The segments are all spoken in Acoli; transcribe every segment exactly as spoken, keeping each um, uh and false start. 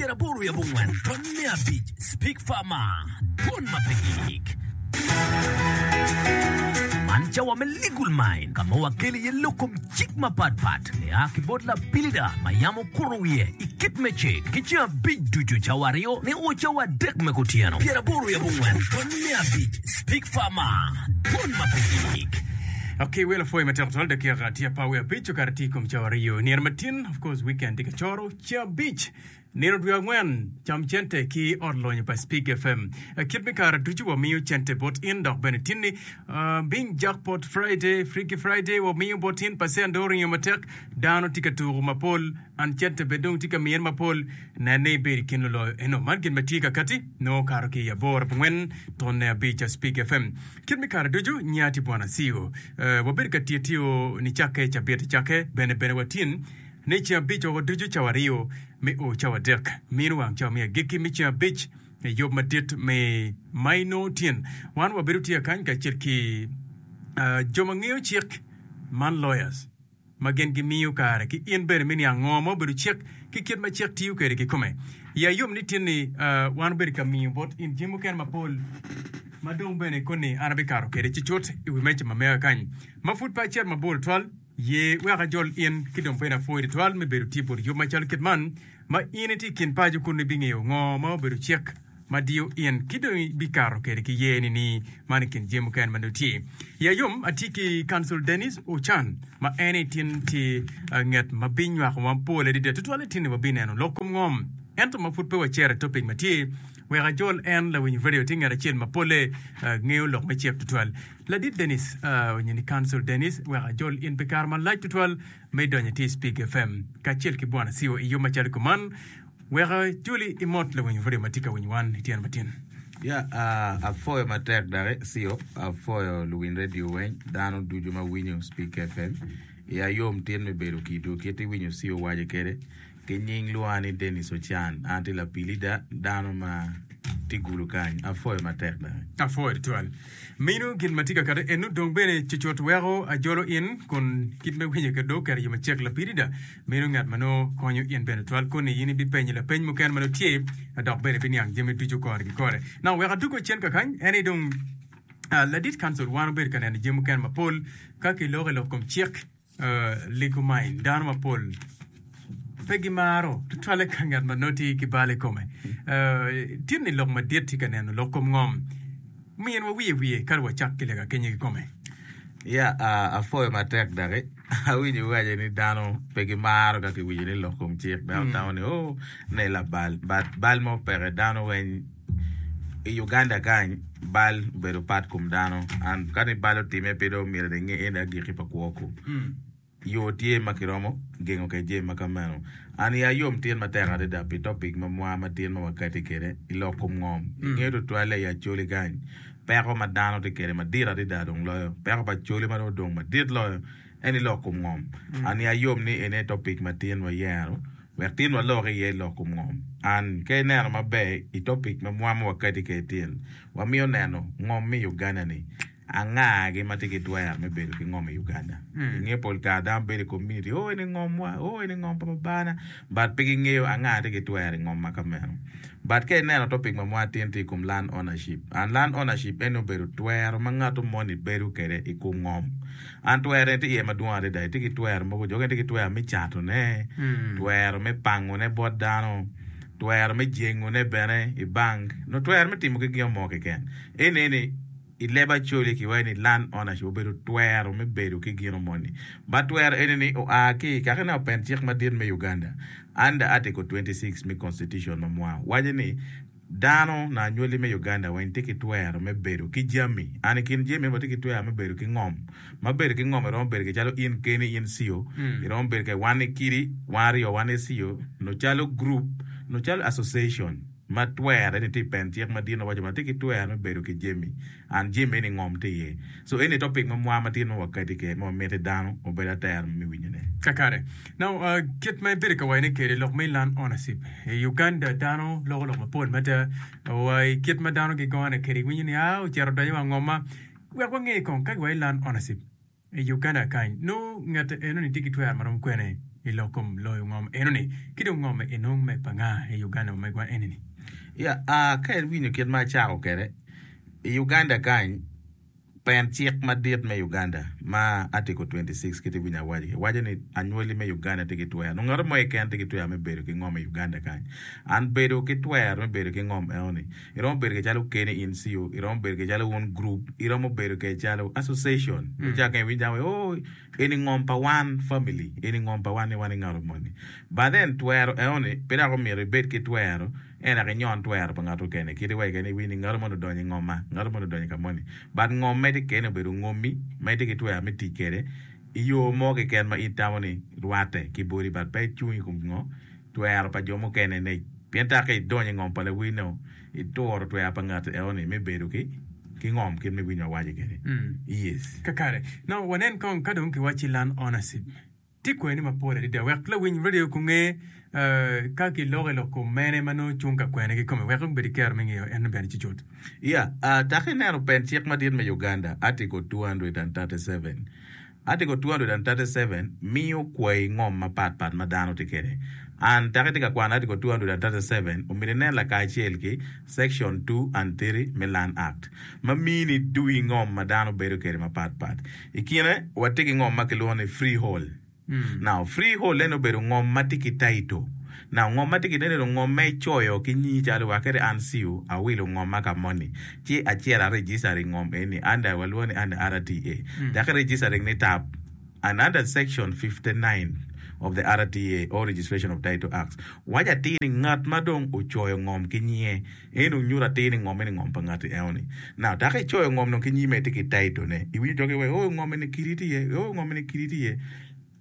Pyeraboro wiye abongwen tonne abic Speak Farmer Dwon ma pe gik. Man cawa me Legal Mind ka ma wakelo iye lok kom cik mapatpat nia ki bot lapilida ma yam okuto wiye i kit me cik ki ceng abic ducu cawa aryo nio cawa adek me kutyeno. Pyeraboro wiye abongwen tonne abic Speak Farmer Dwon ma pe gik. Ok, wel apwoyo matek twal dakika tye apar wiye abic okato tye i kom cawa aryo nino matin of course weekend tye ka coro ceng abic Nino dwe angwen, cam cente ki ot lonyo pa Spig F M. Kit me kare ducu wamiyo cente bot in dok bene tinni. Bing Jackpot Friday, Freaky Friday, wamiyo bot in pacent dong oringo matek. Dano tye ka tuko mapol and cente bene dong tye ka miyene mapol. Nen ni ibedo i kin luloyo eno. Man gin ma tye kakati nongo okato ki i aboro abongwen tonne abic a Spig F M. Kit me kare ducu nya tye bwana C E O. Wabedo ka tiyo tiyo nicakke cabit cakke bene bene watin. Ni ceng abic woko ducu cawa aryo me o cawa adek, mino wang cawa me agikki me ceng abic i yub madit me ma inongo tyen. Wan wabedo tye akany kacel ki jo ma ngeyo cik man, lawyers, ma gin gimiyo kare ki in bene me niang ngo ma obedo cik ki kit ma cik tiyo kwede kikome. Iya yom ni tin ni wan obedo ka miyo bot in jami mukene mapol ma dong bene koni an abikato kwede cucut i wi meja ma mega kany ma pud pe acito mabor tutwal. Ye wek ajol in ki dong bene apwoyi twatwal me bedo tye bot yub macalo kit man ma in itye i kin paco kun ibingeyo ngo ma obedo cik ma diyo in ki dong ibikato kwede ki ye ni ni man i kin jami mukene ma nongo tye. I ayom atye ki Council Dennis Ochan ma en aye tin tye nget ma binywako wa mapol adada tutwal i tin ni wabineno lok kom ngom ento ma pud pe wacito i topic ma tye wek ajol en lawiny radio tye nget acel ma pole ngeyo lok me cik tutwal. Ladit Denis onyo ni Council Denis wek ajol in pi kare malac tutwal me donyo i Speak F M kacel ki Bwana C E O i yub macalo kuman wek ajoli imot lawiny radio ma tye ka winyo wan i tyeno matin. Ya, apwoyo matek doki C E O, apwoyo luwiny radio weng, dano ducu ma winyo Speak F M. Iya yom tin me bedo kidwu kit iwinyo C E O waco kede. Ki nying lwonga ni Denis Ocan, an tye lapilida, dano ma tye gulu kany. Apwoyo matek doki. Apwoyo tutwal. Mino gin ma tye ka kati eno dong bene cucut weko ajolo in kun kit me winyo kede dong oketo yo macek lapilida. Mino ngat ma nongo konyo in bene tutwal kun ni in ibipenyo lapeny mukene ma nongo tye dok bene ibiniang jami ducu kore ki kore. Now wek adwogo cen kakany en aye dong ladit council wan obedo ka neno jami mukene mapol ka kiloko i lok kom cik. Legal mind, dano mapol pe gimaro tutwalle ka ngat ma nongo tye ki bal i kome. Tye ni lok madit tye ka neno lok kom ngom. Minwa wiye wiye kadi wacak ki lega kenyo kikome. Ya, apwoyo matek doki. Awinyo iwaco ni dano pe gimaro ka kiwinyo ni lok kom cik. Dano tamo ni oh ne labal. But bal mo peke dano weng i Uganda kany bal obedo pat kom dano and ka ni bal otime pe dong myero inge eni agikki pa kwo ku yo tye ma kiromo gengo kwede jami ma ka meno and iya yom tin matek adada pi topic ma mwa matin ma wakati kwede i lok kom ngom ingeyo tutwalle i Acholi kany peko ma dano tye kwede madit adada dong loyo peko pa Acholi ma dong odong madit loyo en i lok kom ngom and iya yom ni ene topic matin wayero Wek tin walok iye lok kom ngom. An, ka ineno maber i topic ma mwa ma wakati kwede tin, wamiyo neno ngom me Uganda ni anga-gi ma tye ki twero me bedo ki ngom i Uganda. Inge pol kare dano bedo i community, oh eni ngomwa, oh eni ngom pa babana, but pe gingeyo anga tye ki twero i ngom ma ka meno. But ka ineno topic ma mwa tin tye i kom land ownership, and land ownership eni obedo twero ma ngato moni bedo kwede i kom ngom. An twerone tye iye madwong adada. Itye ki twero mogo, jo mukene tye ki twero me catone, twero me pangone bot dano, twero me jengone bene i bank, nyo twero me timo ki gin mo keken. Eni eni i leb Acholi kiwaco ni land ownership obedo twero me bedo ki gino moni. But twero eni ni oa ki i kaka ineno pen cik madit me Uganda under article twenty six me constitution ma mwa waco ni Dano na anywali me Uganda weng tye ki twero me bedo ki jami. An i kin jami eni watye ki twero me bedo ki ngom. Ma bedo ki ngom iromo bedo ki calo in keni in C E O, iromo bedo ki wan i kidi, wan aryo wan i C E O, nyo calo group, nyo calo association ma twere ni tye i pen cik madit ma waco ma tye ki twero me bedo ki jami. And jami eni ngom tye iye. So eni topic ma mwa matin ma wakati kwede ma wamiti dano obed atera me winyo ne. Kakare. Now, uh, kit ma ibedo ka wacone kwede lok me land ownership i Uganda dano loko lok mapol mada wa i kit ma dano gigone kwede iwinyo ni aa ocito odonyo wa ngom ma wek wange kong ka giwaco land ownership i Uganda kany nongo ngat enoni tye ki twero marom kwene I lok kom loyo ngom enoni ki dong ngom enong me pa nga i Uganda ma megwa enini? Ya, ka iwinyo kit ma acako kwede, i Uganda kany, pen cik madit me Uganda ma Article twenty six kit iwinyo awaco ki waco ni anywali me Uganda tye ki twero nongo ngat mo keken tye ki twero me bedo ki ngom i Uganda kany. An bedo ki twero me bedo ki ngom enoni iromo bedo ke calo keni in C O, iromo bedo ke calo wun group, iromo bedo ke calo association. Icako iwinyo dano waco oh eni ngom pa wan family, eni ngom pa wan ni wan ingato moni. But then twero enoni pe dok omyero ibed ki twero En dok inyon twero pa ngat mukene. Kit iwaci kene iwinyo ni ngat moni odonyo i ngomma, ngat moni odonyo i ka moni. But ngom ma itye kene obedo ngommi ma itye ki twero me tic kwede i yo mo keken ma in itamo ni rwatte ki boti but pe icung i kom ngo? Twero pa jo mukene ne. Pien tak ka idonyo i ngom pa lawil-no, ituro twero pa ngat eno-ni me bedo ki ki ngom kit ma iwinyo awaco kwede. Yes. Kakare. Now wanen kong ka dong kiwacci land ownership. Tye kweni mapol adada wek lawiny radio gunge ka giloko i lok kom mene ma nongo cung ka kwene kikome wek gubed ki kero me ngeyo en bene cucut. Iya, dok ineno pen cik madit me Uganda, Article two hundred and thirty seven. Article two hundred and thirty seven miyo kwayi ngom mapat pat ma dano tye kwede. And dok itye ka kwano Article two hundred and thirty seven, omyero inen lakacel ki Section two and three me Land Act ma mini dui ngom ma dano bedo kwede mapat pat. I kine, watye ki ngom ma kilwongo ni freehold. Now, freehold eni obedo ngom ma tye ki title. Now, ngom ma tye ki title ngom ma icoyo ki nyingi calo wa kadi an C E O awilo ngomma ka moni ci acito a registering ngom eni under walwongo ni under R T A. Dok i registering ni tap and under section fifty-nine of the R T A or Registration of Title Acts waco atir ni ngat ma dong ocoyo ngom ki nyinge en dong nyuto atir ni ngom eni ngom pa ngati eno ni. Now dok icoyo ngom dong ki nyime itye ki title ne iwinyo jo giwaco oh ngom eni kidi tye iye oh ngom eni kidi tye iye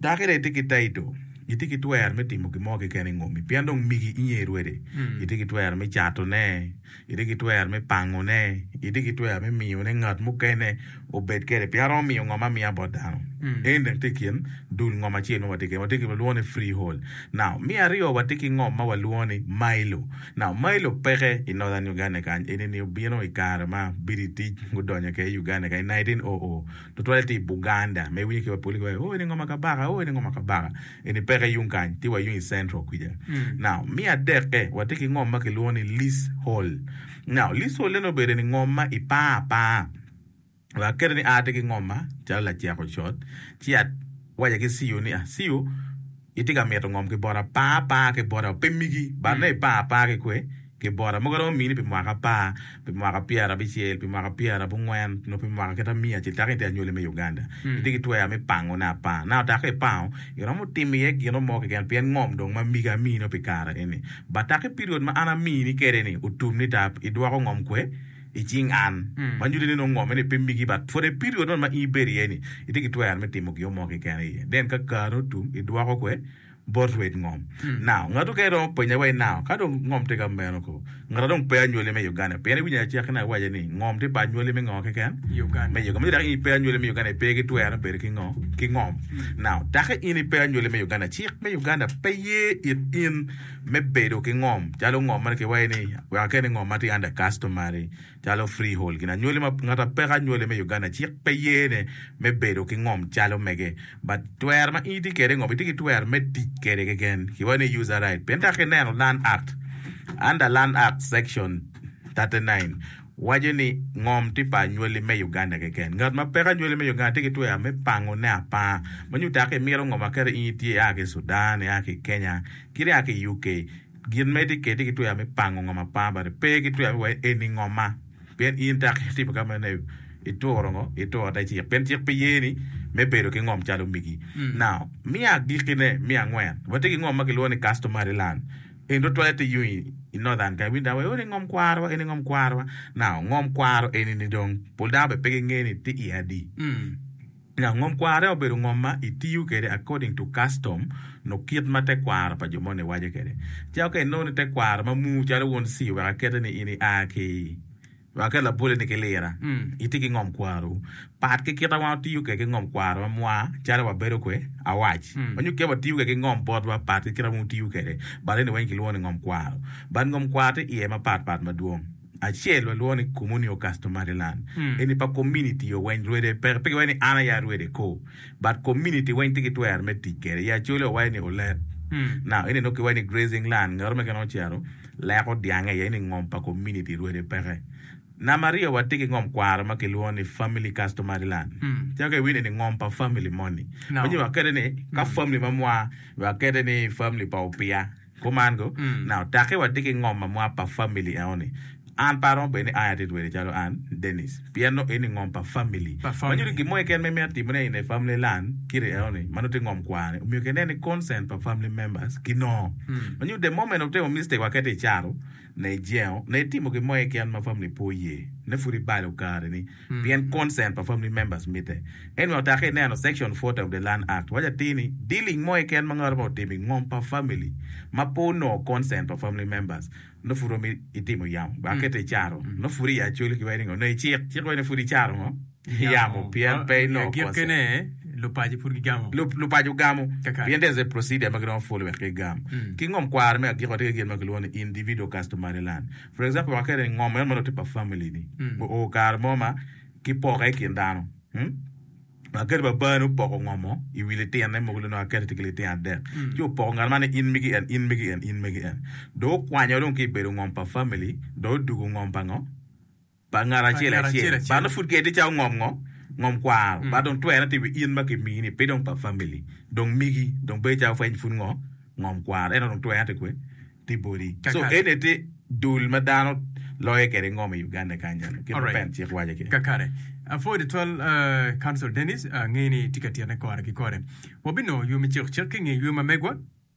dok ite itye ki title itye ki twero me timo gin mo keken i ngomi pien dong migi inye rwede itye ki twero me cato ne itye ki twero me pango ne itye ki twero me miyo ne ngat mukene obed kwede pien romo miyo ngom amiya bot dano en dong tye i kin dul ngom acel ma watye kwede watye ki walwongo ni freehold. Now me aryo watye ki ngom ma walwongo ni mailo. Now mailo peke i Northern Uganda kany eni ni obino i kare ma British gudonyo kwede i Uganda kany i nineteen oh oh tutwalle tye i Buganda ma iwinyo ki wa poli giwaco oh eni ngom ma kabaka oh eni ngom ma kabaka eni peke yung kany tye wa yung i central kwica. Now me adekke watye ki ngom ma kilwongo ni leasehold. Now leasehold eni obedo ni ngom ma ipanga apanga wek akete ni a tye ki ngom ma calo lacek ocot ci awaco ki C E O ni ah C E O itye ka mito ngom ki bota panga apanga ki bota pe migi but nongo ipanga apanga ki kwe ki bota mogo romo mini pi mwaka apar pi mwaka pyerabicel pi mwaka pyerabongwen nyo pi mwaka kit amiya acel taka itye anywali me Uganda itye ki twero me pangone apanga now taka ipango iromo timo iye gino mo keken pien ngom dong ma migi amino pi kare eni but taka i period ma an amini kwede ni otum ni tap idwoko ngom kwe i cing an ma nyuto ni nongo ngom eni pe migi but for the period man ma in ibedo iye ni itye ki twero me timo gin mo keken iye then ka kare otum idwoko kwe bot rwed ngom. Now ngat okene romo penya wa now ka dong ngom tye ka meno ko ngat dong pe anywali me Uganda pien iwinyo acaki ne awaco ni ngom tye pa anywali me ngo keken Uganda. Me Uganda dok in ipe anywali me Uganda ipe ki twero me bedo ki ngo ki ngom. Now take in ipe anywali me Uganda cik me Uganda pe ye it in me bedo ki ngom calo ngom ma kiwaco ni wek akene ngom ma tye under customary calo freehold gin anywali ma ngat apeka anywali me Uganda cik pe yene me bedo ki ngom calo mege but twero ma in itye kwede ngom itye ki twero me tic kwede keken kiwaco ni user right pien ka kineno Land Act under Land Act section thirty-nine waco ni ngom tye pa anywali me Uganda keken ngat ma peko anywali me Uganda tye ki twero me pangone apanga ma nyuto ka imito ngom aketa in itye ia ki Sudan ia ki Kenya kit ia ki U K gin ma itye kwede tye ki twero me pango ngom apanga but pe ki twero me waco eni ngoma pien in tak itimo ka mene ituro ngo ituro te cik pien cik pe yeni me bedo ki ngom calo migi. Now me agikine me angwen watye ki ngom ma kilwongo ni customary land en tutwalle tye yung i northern ka iwinjo dano waco eni ngom kwarowa eni ngom kwarowa now ngom kwaro eni ni dong pol dano bene pe gingeyo ni tye iye adi. Now ngom kwaro obedo ngom ma itiyo kwede according to custom no kit ma te kwaro pa jo moni waco kwede. Calo ka inongo ni te kwaro ma mu calo won C wek akete ni in ia ki wek aket labole ni ki lira itye ki ngom kwaro pat ki kita wan otiyo kwede ki ngom kwaro ma mwa calo wabedo kwe awac manyo kit watiyo kwede ki ngom botwa pat ki kita wan otiyo kwede but eni weng kilwongo ni ngom kwaro but ngom kwaro tye iye mapat pat madwong. Acel walwongo ni communal customary land. Eni pa community o weng rwede pe pe giwaco ni an aye arwede ko but community weng tye ki twero me tic kwede. I Acholi wawaco ni olet. Now eni nongo kiwaco ni grazing land ngat mo keken ocito leko dyange iye ni ngom pa community rwede peke. Namba aryo watye ki ngom kwaro ma kilwongo ni family customary land. Calo ka iwinyo ni ngom pa family moni. Manyo wakete ni ka family ma mwa wakete ni family pa Opiya. Kuman go, now take watye ki ngom ma mwa pa family eno ni. An pe aromo bedo ni an atye rwede calo an Dennis pien nongo eni ngom pa family. Pa Ma family. nyuto gin mo keken ma imito timone in a family land kiti eno ni ma nongo tye ngom kwar ni omyero kinen ni consent pa family members kinongo. Ma nyuto the moment otimo mistake wakete icaro ne ijengo ne itimo gin mo keken ma family pe oye ne pud ibalo kare ni pien consent pa family members mitte. Anyway otake ineno section forty of the land act waco atir ni dealing mo keken ma ngat mo otimo i ngom pa family ma pe onongo consent pa family members nongo pud romo itimo yamo ba kete icaro nongo pud i Acholi kiwaco ni ngo nongo icik cik waco ni pud icaro ngo yamo pien pe inongo consent. Agikkine lupaco pud gigamo. Lupaco gamo Kakare. pien there's a procedure ma giromo follow wek gigam. Ki ngom kwaro me agiko watye ki gin ma kilwongo ni individual customary land. For example wakete ni ngom meno ma nongo tye pa family ni oo kare mo ma kipoke i kin dano. Hmm? Akete babani opoko ngomo i wi litine mogo nongo akete tye ki litino adek ci opoko ngat man ni in megi en in megi en in megi en dong okwanyo dong ki i bedo ngom pa family dong odugo ngom pa ngo pa ngat acel ngat acel acel acel. but nongo pud kede tye calo ngom ngo ngom kwaro but dong twerone tye i wi in ma kimini pe dong pa family dong migi dong bedo calo pweny pud ngo ngom kwaro ento dong twerone tye kwe tye boti so Kakare. eni tye dul ma dano loyo kwede ngom i Uganda kany eno kit ma Alright. pen cik waco ki Kakare. Apwoyo tutwal uh, Council Dennis uh, angeyo ni tye ka tyene kore ki kore. Wabinongo ywe me cik cik ki nge ywe ma megwa.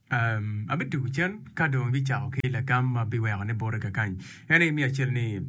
Um, abitugo cen ka dong ibicako ki lagam ma biweko ne bote kakany. En aye miyo acel ni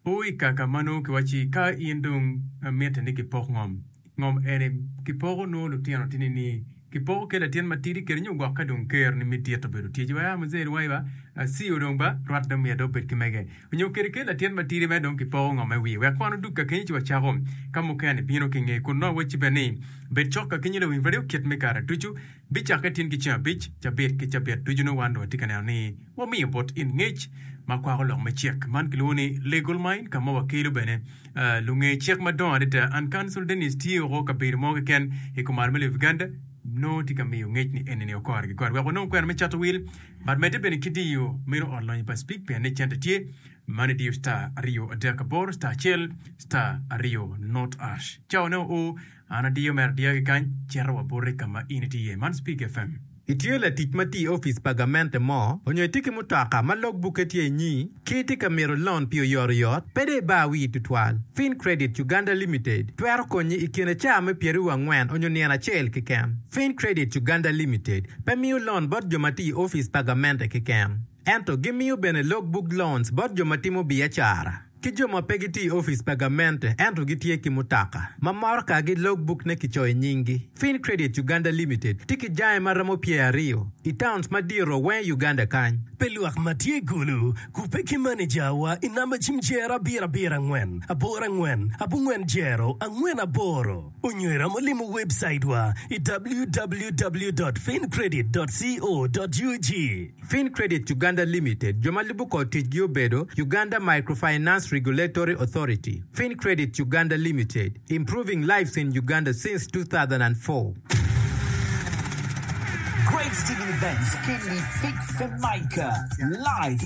o i kaka ma nongo kiwaci ka in dong eh, mitte ni kipok ngom. Ngom eni kipoko nongo lutino tini ni kipoko ki latin matidi kede nyo gwok ka dong ker ni me dit obedo tye ci wa muzee wai ba CEO dong ba rwat dong myero dong obed ki mege onyo kede ki latin matidi me dong kipoko ngom me wiye wek kwan odug ka kenyo ci wacako ka mukene bino ki nge kun nongo wacci bene ni bed cok ka kenyo lawiny radio kit me kare ducu bicakke tin ki ceng abic cabit ki cabit ducu nongo wan dong watye ka neno ni wamiyo bot in ngec ma kwako lok me cik man kilwongo ni legal mind ka ma wakelo bene uh, lunge cik madongo adada an Council Dennis tye oko kabedo mo keken i kumalo me Uganda nongo tye ka miyo ngec ni eni ni okore ki kore wek wanong kwena me cato wil but medde bene ki diyo meno ot lonyo pa speak pien ni cente tye man idiyo star aryo adek aboro star acel star aryo not ash cawa ne oo an adiyo mere adiya ki kany cito wa bote ka ma in itye iye man Speak F M. Itye latic ma tye i opic pa gamente mo onyo itye ki mutoka ma logbukke tye inyi ki itye ka mito loan pi oyotoyot pe dong ibar wii tutwal. Fin Credit Uganda Limited twero konyi i kine caa me pyeraryo angwen onyo nino acel keken. Fin Credit Uganda Limited pe miyo loan bot jo ma tye i opic pa gamente keken, ento gimiyo bene logbook loans bot jo ma timo biacara ki jo ma pe gitye i opic pa gamente ento gitye ki mutoka ma morokagi logbook ne kicoyo nyinggi. Fin Credit Uganda Limited tye ki jange ma romo pyeraryo i towns madito weng i Uganda kany. Pe lwak ma tye i Gulu kubbe ki manejawa i namba cim jero abiro abiro angwen aboro angwen abongwen jero angwen aboro onyo iromo limo website wa i w w w dot fincredit dot co dot u g. Fin Credit Uganda Limited jo ma lubo kor ticgi obedo Uganda Microfinance Regulatory Authority. Fin Credit Uganda Limited, improving lives in Uganda since two thousand four. Great Steven Events Kinley Fig for Micah live.